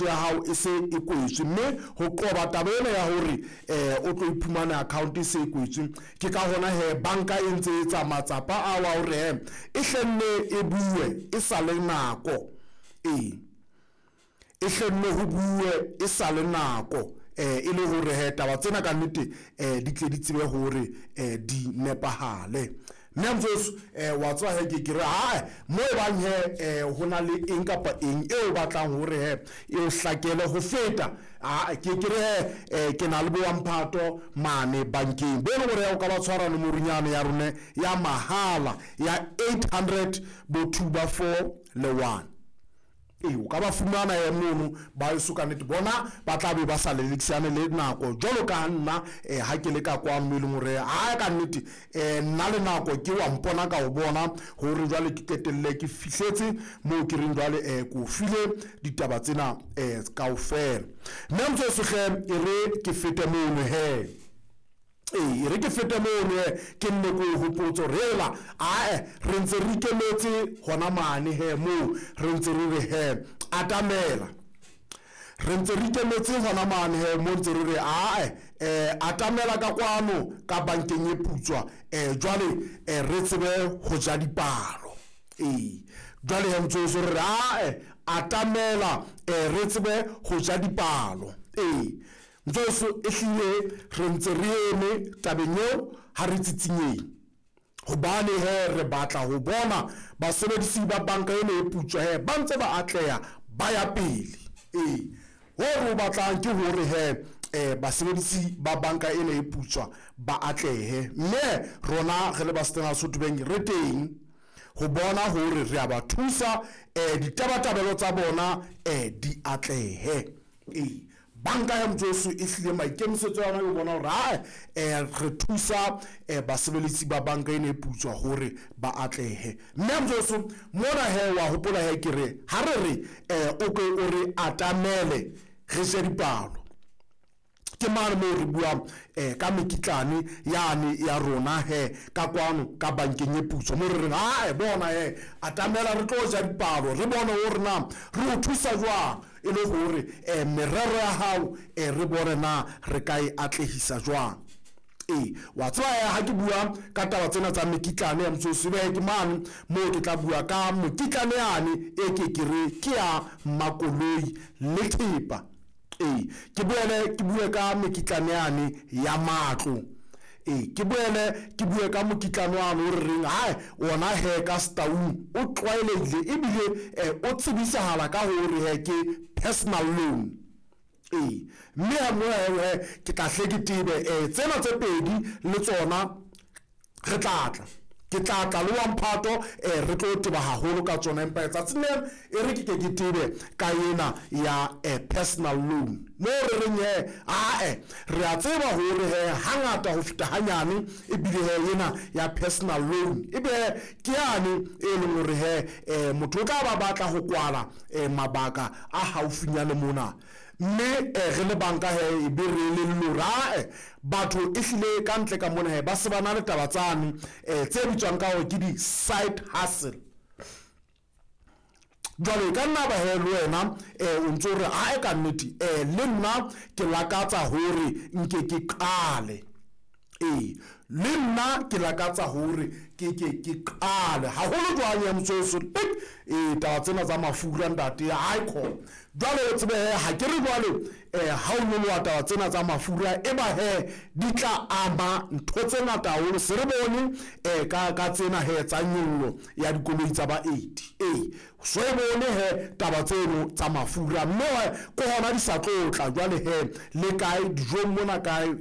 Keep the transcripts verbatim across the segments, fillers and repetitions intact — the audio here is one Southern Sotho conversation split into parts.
account ya hao e se e kwetswe. Mme ho qoba taba ena ya hore um o tlo iphumana account e se e kwetswe, ke ka hona he banka e ntse e etsa matsapa a wa hore he e hlenne e bue e sa le nako. Ee, e hlenne ho bue e sa le nako, eh e le hore he taba tsena ka nnete eh di tle di tsebe hore eh di nepahale. Mme motsoso eh wa tseba he ke ke re ha mo e bang he eh ho na le eng kapa eng eo o batlang hore he e o hlakele ho feta, a ke ke re he eh ke na le bo wa mphato mane bankeng bo e leng hore o ka ba tshwara nomoronyana ya rona ya mahala ya eight hundred bo two ba four le one. Ee, o ka ba fumana ya mono ba eso ka nnete bona ba tla be ba sa lelekisane le nako jwalo ka nna eh ha ke le ka kwano mo e leng hore ha ka nnete eh nna le nako ke wa mpona ka o bona hore jwale ke qetelle ke fihletse moo ke reng jwale eh ko file ditaba tsena eh kaofela. Mme motsoso hle e re ke fete mono he. Ee, re ke fete mono he ke nne ko hopotso rela ae re ntse re ikemetse hona mane he moo re ntse re re he atamela, re ntse re ikemetse hona mane he mo ntse re re ae eh atamela ka kwano ka bankeng e putswa eh jwale eh re tsebe ho ja dipalo. Ee, jwale he motsoso re re ae atamela eh re tsebe ho ja dipalo. Ee, motsoso e hlile re ntse re eme tabeng eo ha re tsitsinyeng, hobane he re batla ho bona basebedisi ba banka ena e putswa he ba ntse ba atleha ba ya pele. Ee, ho re o batlang ke hore he eh basebedisi ba banka ena e putswa ba atlehe, mme rona re le ba Standard Soto Bank re teng ho bona hore re a ba thusa eh ditabatabelo tsa bona eh di atlehe. Ee, banka ya motsoso e hlile maikemisetso a yona ke bona hore ha eh re thusa eh basebeletsi ba banka ena e putswa hore ba atlehe. Mme motsoso mona he wa hopola he ke re ha re re eh o ke o re atamele re je dipalo, ke mane moo re buang eh ka mekitlane yane ya rona he ka kwano ka bankeng e putswa, mo re reng ha bona he atamela re tlo ja dipalo re bone hore na re o thusa jwang e le hore eh merero ya hao eh re bone na re ka e atlehisa jwang. Ee, wa tseba ha ke bua ka taba tsena tsa mekitlane ya motsoso be ke mane moo ke tla bua ka mokitlane yane e ke ke re ke ya makoloi le thepa. Ee, ke boele ke bue ka mekitlane yane ya matlo. Ee, ke boele ke bue ka mokitlane wane o re reng hai ona he ka Staung o tlwaelehile ebile eh o tsebisahala ka hore he ke personal loan. Ee, mme ha mo he ke tla hle ke tebe eh tsena tse pedi le tsona re tla tla ke tla tla le wa mphato eh re tlo teba haholo ka tsona, empa tsatsing lena e re ke ke ke tebe ka ena ya eh personal loan mo re reng he ae re a tseba hore he hangata ho feta hanyane ebile he ena ya personal loan ebe ke yane e leng hore he eh motho o tla ba batla ho kwala eh mabaka a haufinyane mona, mme eh re le banka he e be re le lora eh batho e hlile ka ntle ka mona he ba se ba na le taba tsane eh tse bitswang ka hore ke di side hustle. Jwale ka nna ba he le wena eh o ntso re ha e ka nnete eh le nna ke lakatsa hore nke ke qale. Ee, le nna ke lakatsa hore ke ke ke qale haholo jwang ya motsoso ee taba tsena tsa mafura ntate ha e khona. Jwale o tsebe he ha ke re jwale eh ha o nyoloha taba tsena tsa mafura e ba he di tla ama ntho tse ngata haholo, se re bone eh ka ka tsena he tsa nyollo ya dikoloi tsa ba eighty. Ee, so e bone he taba tseno tsa mafura mme ko hona di sa tlotla jwale he le kae dijong mona kae.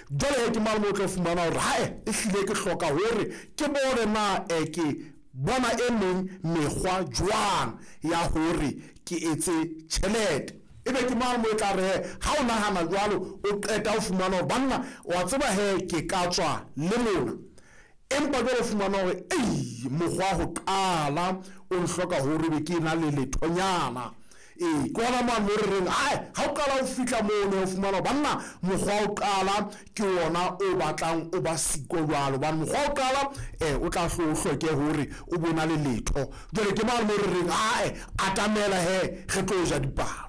Jwale he ke mang mo tlo fumana hore hae e hlile ke hloka hore ke bone na eh ke bona e meng mekgwa jwang ya hore ke etse tjhelete. Ebe ke mang mo e tla re ha o nahana jwalo o qeta o fumana hore banna wa tseba he ke ka tswa le lona, empa jwale o fumana hore ei mokgwa ho qala o nhloka hore be ke na le lethonyana. Ee, ke hona mane mo re reng hai ha o qala o fihla mono o fumana banna mokgwa o qala ke wona o batlang o ba siko jwalo, hobane mokgwa o qala eh o tla hlo o hloke hore o bona le letho. Jwale ke mane mo re reng hai atamela he re tlo ja dipalo.